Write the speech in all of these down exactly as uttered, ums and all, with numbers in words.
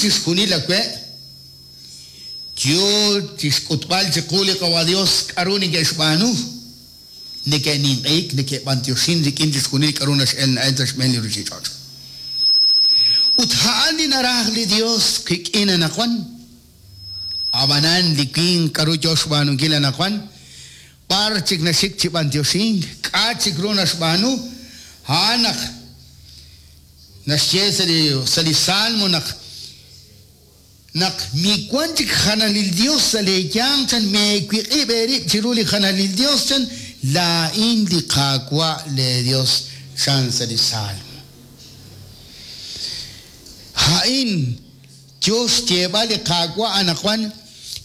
chixjunil awe' yo chixk'utb'al chiqu li Qawa' Dios k'aru neke'xb'aanu neke'ninq'ehik neke'b'antioxin rik'in chixjunil k'aru nax'el na'el sa' xb'een li ruuchich'och'. Ut a'an li naraj li Dios qik'in anaqwan. Ab'anan li winq k'aru yo xb'aanunkil anaqwan b'ar chik naxik chi b'antioxink k'a' chik ru naxb'aanu a'an naq naxye sa' li sa' li Salmo naq naq miwan chik janalil Dios sa' leeyanq chan meewiq'ib' eerib' chiru li janalil Dios chan laa'in li Qaawa' le Dios chan sa' li Salmo. A'in yo xyeeb'al li Qaawa' anaqwan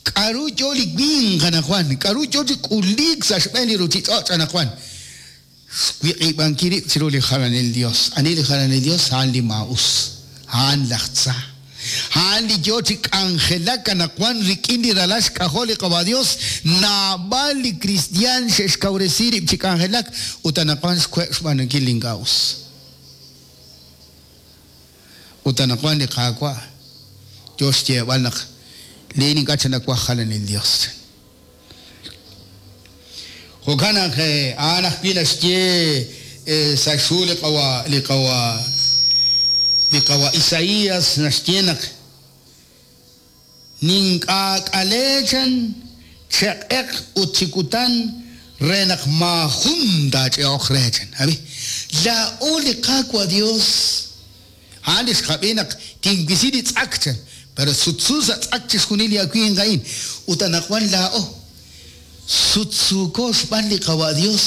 k'aru yo li winq anaqwan k'aru yo chi k'uliik sa' xb'een li ruuchich'och' anaqwan xwiq'ib'ankil rib' chiru li jalanil Dios. Ani li jalanil Dios? A'an li maa'us, a'an laj tza, a'an li yo chi k'anjelak anaqwan rik'in li ralal xk'ajol li Qawa' Dios. Naab'al li kristiaan xe'xkawresi rib' chi k'anjelak ut anaqwan xwe' xb'aanunkil li ink'a' us. Ut anaqwan li Qaawa' yo xyeeb'al naq liin ink'a' chanawaj jalanil Dios. Jo'kan naq a'an ajwi' naxye sa' xhu li Qawa' li Qawa' li Qawa' Isaías naxye naq nink'aak'ale chan cheq'eq ut chi kutan re naq maajun taach'e'oq re chan. Abi laa'o li Qaawa' Dios a'an li xqab'i naq tinwisi li tz'ak chan pero sutsu sa' tz'ak chixjunil li awinq a'in ut anaqwan laa'o sutsuuko xb'aan li Qawa' Dios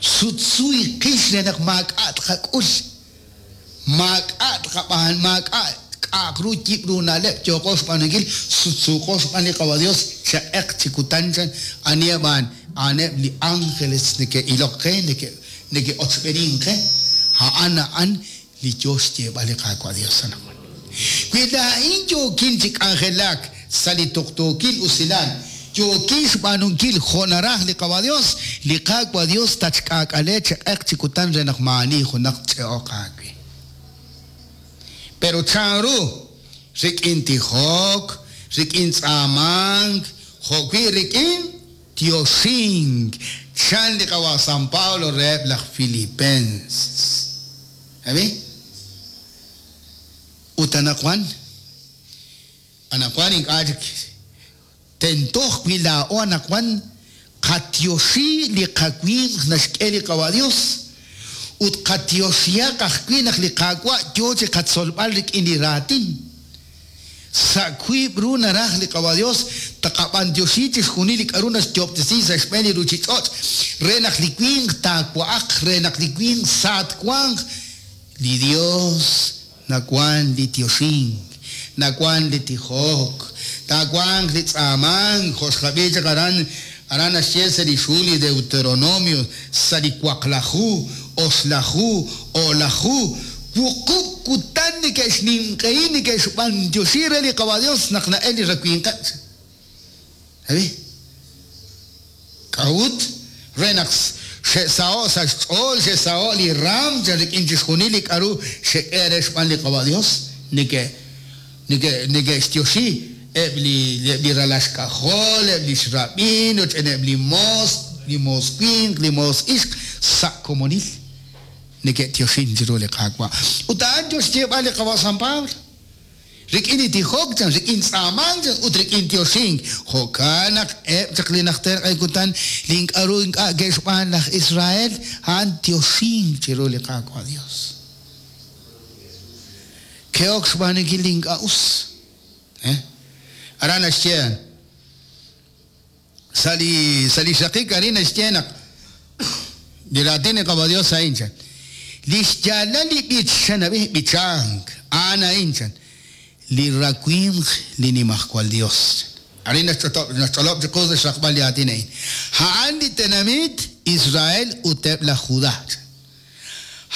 sutsu iqix re naq maak'a' tqak'ul maak'a' tqab'aan maak'a' k'a'aq ru yib' ru na'leb' yooqo xb'aanunkil sutsuuqo xb'aan li Qawa' Dios cheq'eq chi kutan chan aniheb' a'an a'aneb' li ángeles neke'ilok qe neke' neke'ochb'enink qe a'an a'an li yo xyeeb'al li Qaawa' Dios anaqwan. Wi laa'in yookin chi k'anjelak sa' li tuqtuukil usilal yookin xb'aanunkil jo' naraj li Qawa' Dios, li Qaawa' Dios tatxk'aak'ale cheq'eq chi kutan re naq maa'ani junaq ch'e'oq aawe. Pero chanru rik'in tijok, rik'in tz'aamank, jo'wi' rik'in tioxink chan li Qawa' San Pablo reheb' laj Filipenses. Abi? Ut anaqwan anaqwan ink'a' chik tentoj wi' laa'o anaqwan qatioxi li qawinq naxk'e li Qawa' Dios ut qatioxihaq ajwi' naq li Qaawa' yo chi qatzolb'al rik'in li raatin. Sa' wiib' ru naraj li Qawa' Dios taqab'antioxi chixjunil li k'aru naxyoob'tesi sa' xb'een li ruuchich'och' re naq li winq taawa'aq re naq li winq saatwanq. Li Dios nawan li tioxink, nawan li tijok, taawanq li tz'aamank jo' xqab'i chaq aran aran naxye sa' li xhu li Deuteronomio sa' li waqlaju, oxlaju, o'laju wuqub' kutan neke'xninq'ehi neke'xb'antioxi re li Qawa' Dios naq na'el li rawinqeb'. Abi? K'a'ut re naq xe'saho' sa' xch'ool xe'saho' li raam chan rik'in chixjunil li k'aru xek'e re xb'aan li Qawa' Dios neke' neke' neke'xtioxi eb' li eb' li ralal xk'ajol eb' li xrab'in roch'en eb' li moos li moos winq li moos ixq sa' komonil neke'tioxin chiru li Qaawa'. Ut a'an yo xyeeb'al li Qawa' San Pablo rik'in li tijok chan rik'in tz'aamank chan ut rik'in tioxink. Jo'kan naq eb' chaq li najter q'e kutan li ink'aru ink'a' ke'xb'aan laj Israel a'an tioxink chiru li Qaawa' Dios. Ke'ok xb'aanunkil li ink'a' us. Eh? Aran naxye sa' li sa' li xraqik arin naxye naq li raatin li Qawa' Dios a'in chan li xyaalal li b'ich chan ab'i b'ichank a'an a'in chan li rawimq li Nimajwal Dios. Arin naxch'olob' naxch'olob' chiqu sa' xraqb'al li aatin a'in. A'an li tenamit Israel ut eb' laj Judá.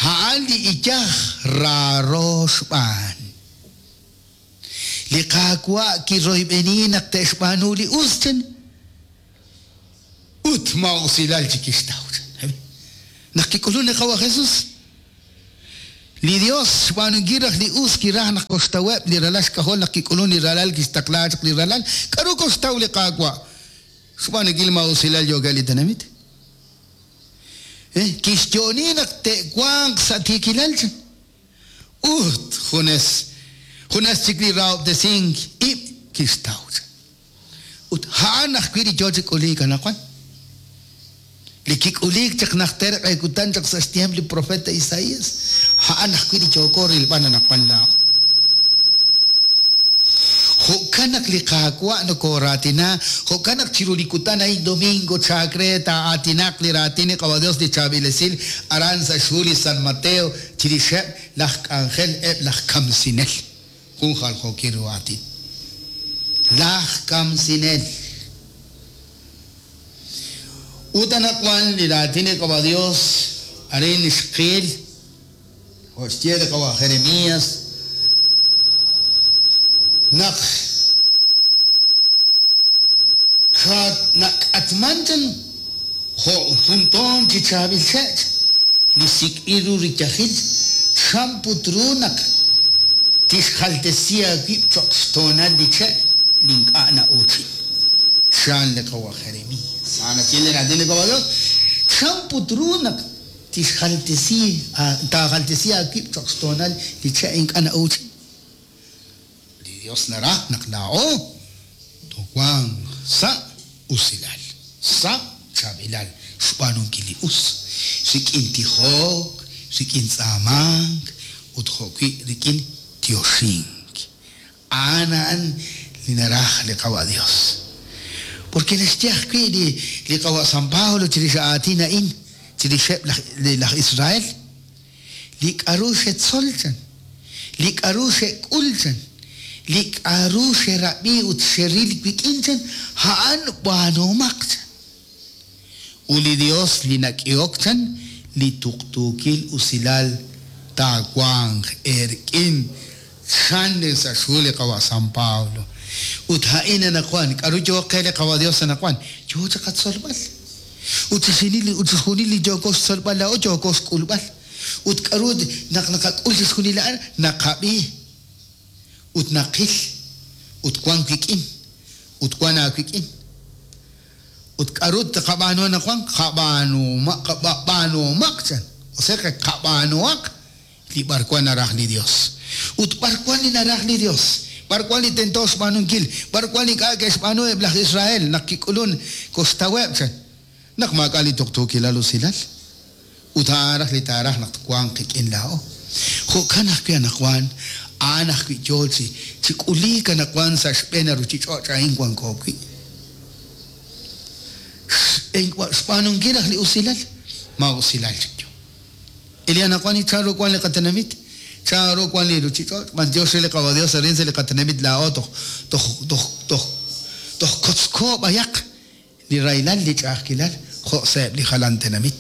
A'an li iyaj raaro xb'aan. Li Qaawa' kiroyb'eni naq te'xb'aanu li us chan ut ma'usilal chi kixtaw chan. Naq kik'ulun li Qawa' Jesús Li Dios xb'aanunkil raj li us kiraj naq koxtaweb' li ralal xk'ajol naq kik'ulun li ralal kixtaqla chaq li ralal. K'aru koxtaw li Qaawa'? Xb'aanunkil maa'usilal yookeb' li tenamit. Eh, kixyo'oni naq te'wanq sa' tiikilal chan. Ut junes junes chik li rahob'tesink ib' kixtaw chan. Ut a'an ajwi' li yoo chi k'uliik anaqwan. Li kik'uliik chaq najter q'e kutan chaq sa' xtiemp li profeta Isaías, a'an ajwi' li yooko rilb'al anaqwan laa'o. Jo'kan naq li Qaawa' nokoraatina, jo'kan naq chiru li kutan a'in domingo chaak re taa'aatinaq li raatin li Qawa Dios li chaab'il esil aran sa' xhu li San Mateo chirixeb' laj k'anjel eb' laj kamsinel. Jun jaljookil ru aatin. Laj kamsinel. Ut anaqwan li raatin li Qawa Dios arin xqil jo' xye li Qawa Jeremías naq nak'atman chan jo' jun toon chi chaab'il che' li sik'b'il ru riyajil chan put ru naq tixjaltesi aawib' cho'q xtoonal li che' li ink'a' na'uuchin. Chan li Qawa Jeremías. A'an naxye li raatin li Qawa Dios. Chan put ru naq tixjaltesi taajaltesi aawib' cho'q xtoonal li che' ink'a' na'uuchin. Li Dios naraj naq laa'o towanq sa' usilal, sa' chaab'ilal, xb'aanunkil li us, rik'in tijok, rik'in tz'aamank, ut jo'wi' rik'in tioxink. A'an a'an li naraj li Qawa Dios. Porque naxye ajwi' li li Qawa San Pablo chirix aatin a'in, chirixeb' laj laj Israel, li k'aru xetzol chan, li k'aru xek'ul chan, li k'aru xerab'i ut xeril wik'in chan, a'an b'aanumaq chan. Ut li Dios li nak'ehok chan, li tuqtuukil usilal taawanq eerik'in chan li sa' xhu li Qawa San Pablo. Ut a'in anaqwan, k'aru yoo qe li Qawa Dios anaqwan? Yoo chaq qatzolb'al. Ut chixjunil li ut chixjunil li yooko xtzolb'al laa'o yooko xk'ulb'al. Ut k'aru naq naqak'ul chixjunil a'an, naqab'i ut naqil ut wan wik'in ut wan aawik'in. Ut k'aru tqab'aanu anaqwan? Qab'aanumaq qab'aanumaq chan. O sea que qab'aanuaq li b'arwan naraj li Dios. Ut b'arwan li naraj li Dios? B'arwan li tento xb'aanunkil? B'arwan li ink'a' ke'xb'aanu eb' laj Israel naq kik'ulun koxtaweb' chan. Naq maak'a' li tuqtuukilal usilal. Ut a'an raj li taaraj naq twanq qik'in laa'o. Jo'kan ajwi' anaqwan, a'an ajwi' yoo chi chi k'uliik anaqwan sa' xb'een ruchich'och' a'in wanko wi'. Xb'aanunkil raj li usilal, ma usilal chik yo. Ili anaqwan chan ru wan li qatenamit, chan ru wan li ruchich'och', b'antiox re li Qawa Dios arin sa' li qatenamit laa'o toj toj toj toj toj kotzko b'ayaq li raylal li ch'a'ajkilal jo' sa'eb' li jalan tenamit.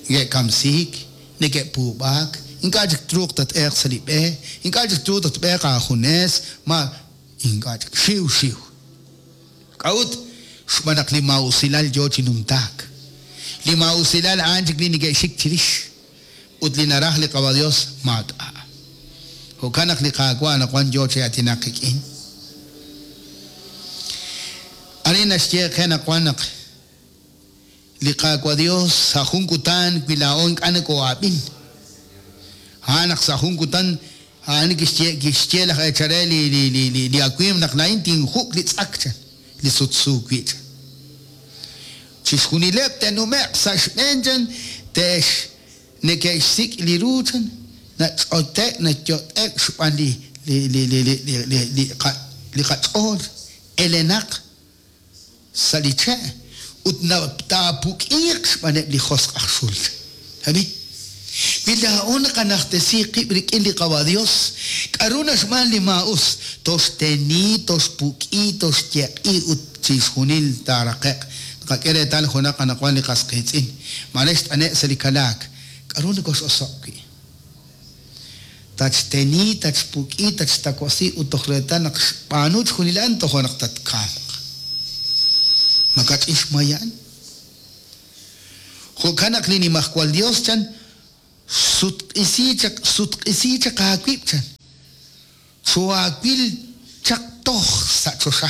Neke'kamsiik, neke'puub'aak, ink'a' chik truuq tat'eeq sa' li b'e, ink'a' chik truuq tatb'eeq aajunes, ma ink'a' chik xiw xiw. K'a'ut? Xb'aan naq li maa'usilal yoo chi numtaak. Li maa'usilal a'an chik li neke'xik chirix. Ut li naraj li Qawa Dios maak'a'. Jo'kan naq li Qaawa' anaqwan yoo chi aatinaq qik'in. Arin naxye qe anaqwan naq li Qaawa' Dios sa' jun kutan wi laa'o ink'a' nakoo'ab'in. A'an naq sa' jun kutan a'an kixye kixye laj eechare li li li li li awimq naq laa'in tinjuk' li tz'ak chan, li sutsu wi' chan. Chixjunileb' te'nume'q sa' xb'een chan, te'x neke'xsik' li ru chan, nach'ote' nayot'ek xb'aan li li li li li li li li qa li qach'ool elenaq sa' li che' ut taapuk'iiq xb'aaneb' li josq' aj xul. Abi? Wi laa'o naqanajtesi qib' rik'in li Qawa Dios, k'aru naxb'aan li maa'us, toxteni, toxpuk'i, toxyeq'i ut chixjunil taaraqe'q. Naqak'e reetal junaq anaqwan li qas qiitz'in. Mare xt'ane' sa' li kalaak. K'aru nokox'osoq' wi'? Tatxteni, tatxpuk'i, tatxtakosi ut toj reetal naq xb'aanu chixjunil a'an tojo' naq tatkamq. Makach'in xmay a'an. Jo'kan naq li Nimajwal Dios chan Sutq'isi chaq sutq'isi chaq aawib' chan. Chuaawil chaq toj sa' choxa.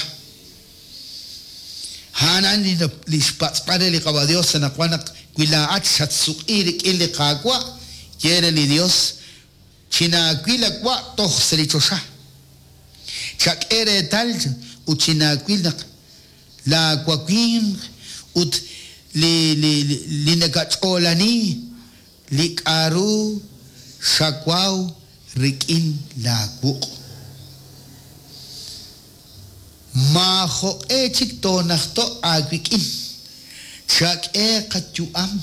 A'an li li xpatz'b'al re li Qawa Dios anaqwan naq wi laa'at xatsuq'i rik'in li Qaawa' ye re li Dios chinaawil awa' toj sa' li choxa. Chak'e reetal ut chinaawil naq laawawinq ut li li li nakach'oolani li k'aru xawaw rik'in laawuq'. Maajoq'e chik toonajto' aawik'in. Chak'e qayu'am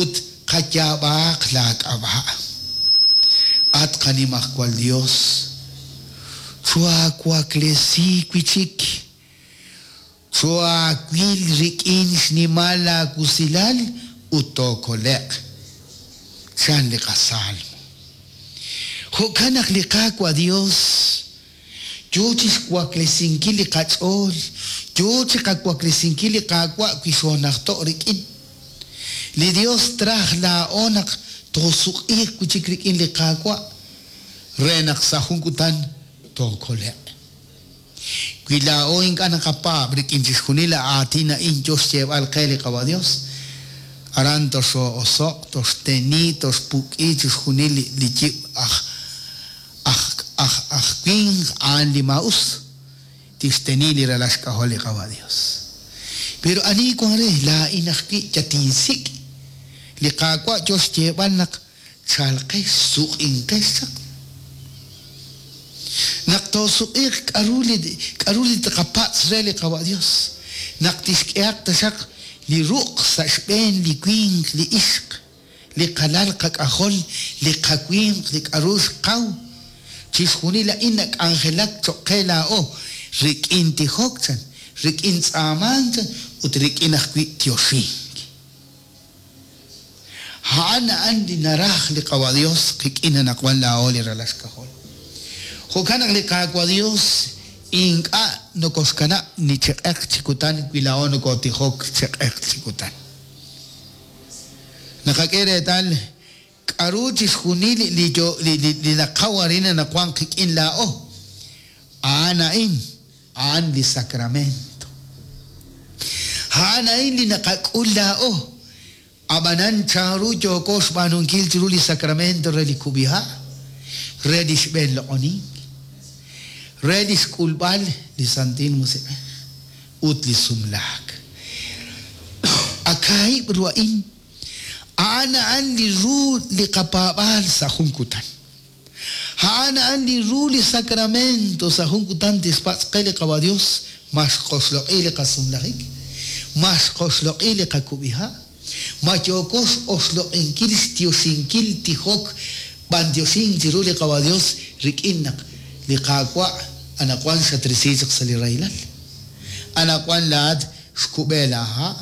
ut qayaab'aaq laak'ab'a'. At qanimajwal Dios, chuawaklesi wi' chik. Chuaawil rik'in xnimal laawusilal ut tookole'q. Chan li qasalmo. Jo'kan naq li Qaawa' Dios yo chi xwaklesinkil li qach'ool, yo chi qawaklesinkil li Qaawa' wi xoonajto' rik'in. Li Dios traj laa'o naq toosuq'iiq wi' chik rik'in li Qaawa' re naq sa' jun kutan tookole'q. Wi laa'o ink'a' naqapaab' rik'in chixjunil aatin a'in yo xyeeb'al qe li Qawa' Dios, aran toxoo'osoq', toxteni, toxpuk'i chixjunil li yib' aj aj aj aj winq a'an li maa'us tixteni li ralal xk'ajol li Qawa' Dios. Pero ani wan re laa'in ajwi' yatinsik' li Qaawa' yo xyeeb'al naq chalqex suq'inqex chaq. Naq toosuq'iiq k'aru li k'aru li tqapatz' re li Qawa' Dios. Naq tixk'ehaq taxaq li ruq' sa' xb'een li winq li ixq, li qalal qak'ajol, li qawinq, li k'aru xqaw. Chixjunil a'in nak'anjelak cho'q qe laa'o rik'in tijok chan, rik'in tz'aamank chan ut rik'in ajwi' tioxink. A'an a'an li naraj li Qawa' Dios qik'in anaqwan laa'o li ralal xk'ajol. Jo'kan naq li Qaawa' Dios ink'a' nokoxkanab' ni chi q'eq chi kutan wi laa'o nokotijok chi q'eq chi kutan. Naqak'e reetal k'aru chixjunil li yo li li li naqaw arin anaqwan qik'in laa'o. A'an a'in, a'an li sacramento. A'an a'in li naqak'ul laa'o. Ab'anan chanru yooko xb'aanunkil chiru li sacramento re li kub'iha', re li xb'een loq'onink, re li xk'ulb'al li Santil Musiq'ej ut li sumlaak. Akaahib' ru a'in, a'an a'an li ru li qapaab'aal sa' jun kutan. A'an a'an li ru li sacramento sa' jun kutan tixpatz' qe li Qawa' Dios ma xqoxloq'i li qasumlajik, ma xqoxloq'i li qakub'iha', ma yooko x'oxloq'inkil xtioxinkil tijok b'antioxink chiru li Qawa' Dios rik'in naq li Qaawa' anaqwan xatrisi chaq sa' li rahilal. Anaqwan laa'at xkub'e laaha',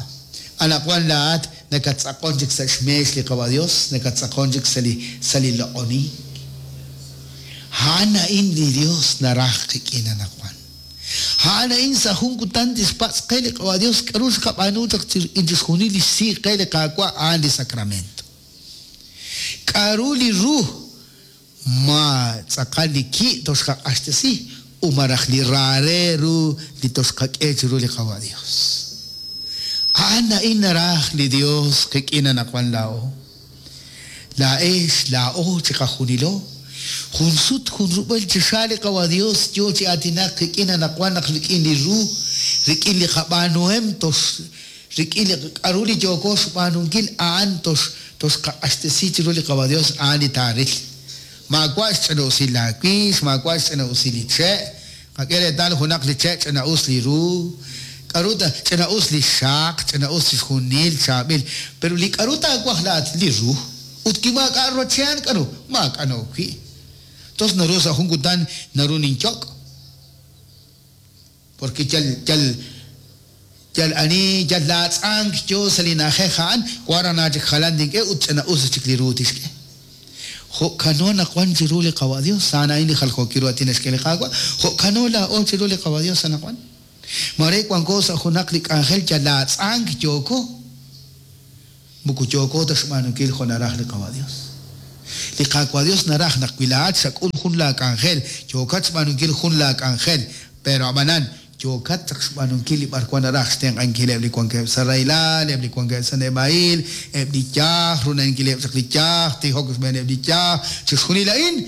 anaqwan laa'at nakatz'aqon chik sa' xmeex li Qawa' Dios, nakatz'aqon chik sa' li sa' li loq'onink. A'an a'in li Dios naraj qik'in anaqwan. A'an a'in sa' jun kutan tixpatz' qe li Qawa' Dios k'aru xqab'aanu chaq rik'in chixjunil li xsi qe li Qaawa' a'an li sacramento. K'aru li ru ma tz'aqal li ki' toxqaq'axtesi u maraj li raare ru li toxqak'e chiru li Qawa' Dios. A'an a'in naraj li Dios qik'in anaqwan laa'o. Laa'ex laa'o chiqajunilo. Jun sut jun rub'el chi xa li Qawa' Dios yo chi aatinak qik'in anaqwan naq rik'in li ru, rik'in li qab'aanuhem tox rik'in li k'aru li yooko xb'aanunkil a'an tox toxqaq'axtesi chiru li Qawa' Dios a'an li taaril. Maawa' xch'ina'usil laawix, maawa' xch'ina'usil li che', qak'e reetal junaq li che' ch'ina'us li ru, k'aru ta ch'ina'us li xaq, ch'ina'us chixjunil chaab'il, pero li k'aru taawaj laa'at li ru, ut wi maak'a' rochean k'aru, maak'a' na'ok wi'. Tos naru sa' jun kutan naru ninyok'. Porque yal yal yal ani yal laatz'ank yo sa' li na'ajej a'an, wara chik jalan tink'e ut ch'ina'us chik li ru tixk'e. Jo'kano naqwan chiru li Qawa' Dios, a'an a'in li jaljookil ru aatin naxk'e li Qaawa', jo'kano laa'o chiru li Qawa' Dios anaqwan. Mare wanko sa' junaq li k'anjel yal laatz'ank yooko. Moko yooko ta xb'aanunkil jo' naraj li Qawa' Dios. Li Qaawa' Dios naraj naq wi laa'at xak'ul jun laak'anjel, yookat xb'aanunkil jun laak'anjel, pero ab'anan yookat chaq xb'aanunkil li b'arwan naraj xtenq'ankileb' li wankeb' sa' rahilal, eb' li wankeb' sa' neb'a'il, eb' li yaj, runankileb' chaq li yaj, tijok xb'eeneb' li yaj, chixjunil a'in,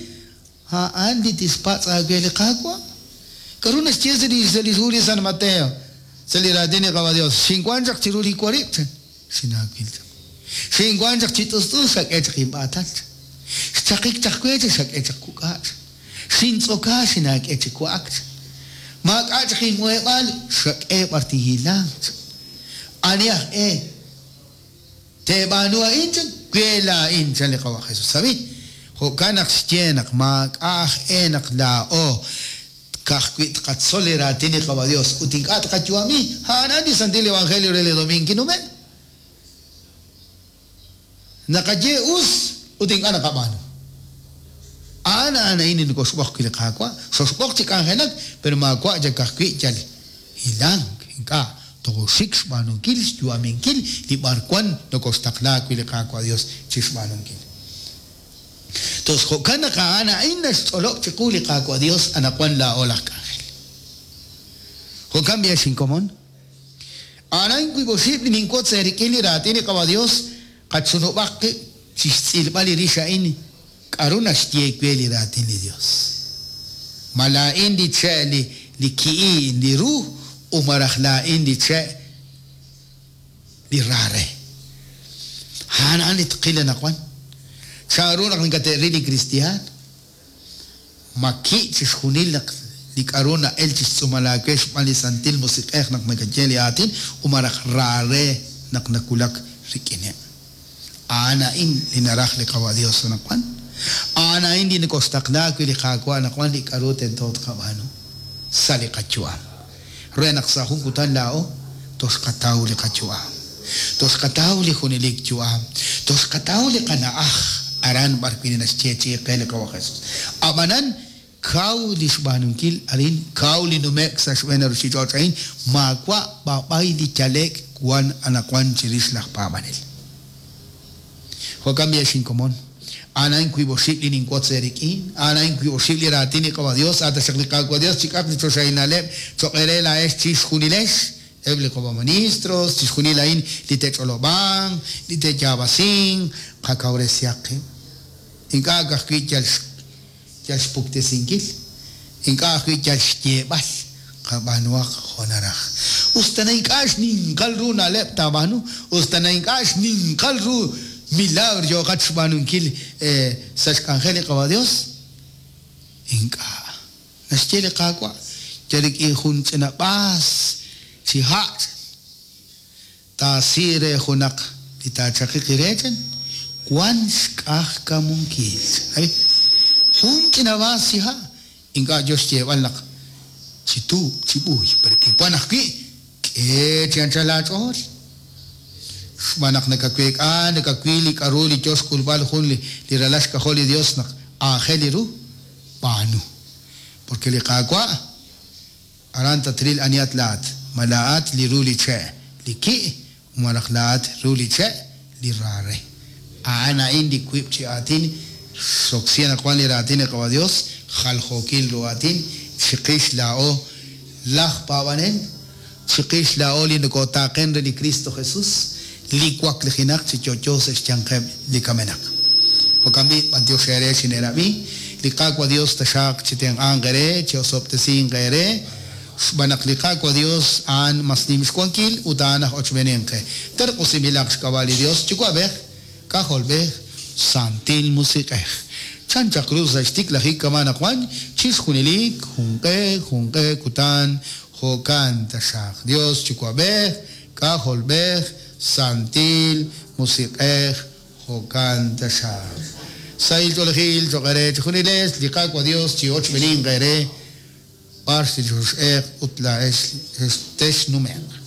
a'an li tixpatz' aawe li Qaawa'. K'aru naxye sa' li sa' li hu li San Mateo, sa' li raatin li Qawa' Dios, xinwan chaq chiru li warib', chan, xinaawil chaq. Xinwan chaq chi t'ust'us, xak'e chaq inb'aatal, chan. Xchaqik chaq we, chan, xak'e chaq kuk'a', chan. Xintz'oka, xinaak'e chi wa'ak, chan. Maak'a' chaq inmuheb'aal, xak'e b'ar tinhilanq, chan. Ani aj e teeb'aanu a'in, chan, we laa'in, chan li Qawa' Jesus. Sabi, jo'kan naq xye naq maak'a' aj e naq laa'o ka'ajwi' tqatzol li raatin li Qawa' Dios ut ink'a' tqayu'ami, a'an li Santil Evangelio re li domingo kinume'. Naqaye us ut ink'a' naqab'aanu. A'an a'an a'in li nokoxb'oq wi' li Qaawa', xoxb'oq chi k'anjelak, pero maawa' yal ka'ajwi' yal hilank, ink'a' toxik xb'aanunkil, xyu'aminkil li b'arwan nokoxtaqla wi' li Qaawa' Dios chi xb'aanunkil. Tos jo'kan naq a'an a'in naxch'olob' chiqu li Qaawa' Dios anaqwan laa'o laj k'anjel. Jo'kan b'i xinkomon. A'an a'in wiib' oxib' li ninwotz eerik'in li raatin li Qawa' Dios, qachunub'aq qib' chi xtz'ilb'al li rix a'in k'aru naxye we li raatin li Dios. Ma laa'in li che' li li ki'i li ru u maraj laa'in li che' li rare. A'an a'an li tqil anaqwan. Chanru naq nakate'ril li kristiaan. Ma ki' chixjunil naq li k'aru na'el chixtz'uumal aawe xb'aan li Santil Musiq'ej naq nakaye li aatin u maraj rare naq nakulak rik'ineb'. A'an a'in li naraj li Qawa' Dios anaqwan. A'an a'in li nokoxtaqla wi' li Qaawa' anaqwan li k'aru tento tqab'aanu sa' li qayu'am. Re naq sa' jun kutan laa'o toxqataw li qayu'am. Toxqataw li junelik yu'am. Toxqataw li qana'aj aran b'ar wi' naxyeechi'i qe li Qawa' Jesus. Ab'anan kaw li xb'aanunkil arin, kaw li nume'k sa' xb'een ruuchich'och' a'in, maawa' b'ab'ay li yale'k wan anaqwan chirix laj paab'anel. Jo'kan b'i xinkomon. A'an a'in wiib' oxib' li ninwotz eerik'in, a'an a'in wiib' oxib' li raatin li Qawa' Dios, a' taxaq li Qaawa' Dios chik'aq li choxahil na'leb' cho'q eere laa'ex chixjunilex, eb' li Qawa' ministros, chixjunil a'in li te'ch'olob'anq, li te'yaab'asinq, qakawresihaq qib'. Ink'a' ka'ajwi' yal yal xpuktesinkil, ink'a' ajwi' yal xyeeb'al, qab'aanuhaq jo' naraj. Usta na ink'a' xninqal ru na'leb' taab'aanu, usta na ink'a' xninqal ru milagro yooqat xb'aanunkil sa' xk'anjel li Qawa' Dios, ink'a'. Naxye li Qaawa', yal rik'in jun ch'ina b'aas chi ha' taasi re junaq li taachaqiq re chan, wan xk'ajkamunkil. Ay, jun ch'ina b'aas chi ha', ink'a' yo xyeeb'al naq chi tuub', chi b'uy, pero kiwan ajwi' k'e chi anchal aach'ool. Xb'aan naq nakaweek'a, nakawil li k'aru li yo xk'ulb'al jun li li ralal xk'ajol li Dios naq aajel li ru, b'aanu. Porque li Qaawa' aran tatril anihat laat, ma laat li ru li che' li ki', malaj laat ru li che' li rare. A'an a'in li wiib' chi aatin xoksi anaqwan li raatin li Qawa' Dios, jaljookil ru aatin, chiqix laa'o laj paab'anel, chiqix laa'o li nokotaaqen re li Cristo Jesus, li waklijinaq chi yo'yo sa' xyanqeb' li kamenaq. Jo'kan b'i' b'antiox eere xineerab'i, li Qaawa' Dios taxaq chi tenq'anq eere, chi osob'tesinq eere, xb'aan naq li Qaawa' Dios a'an mas nim xwankil ut a'an aj ochb'eeninq qe. Terq'usinb'ilaq xk'ab'a' li Dios Yuwa'b'ej, K'ajolb'ej, Santil Musiq'ej. Chan chaq ru sa' xtiklajik kama anaqwan, chixjunilik, junq'e, junq'e kutan, jo'kan taxaq. Dios Yuwa'b'ej, K'ajolb'ej, Santil Musiq'ej, jo'kan taxaq. Sahil ch'oolejil cho'q eere chixjunilex, li Qaawa' Dios chi ochb'eeninq eere, b'ar li xox'eq ut laa'ex texnume'q.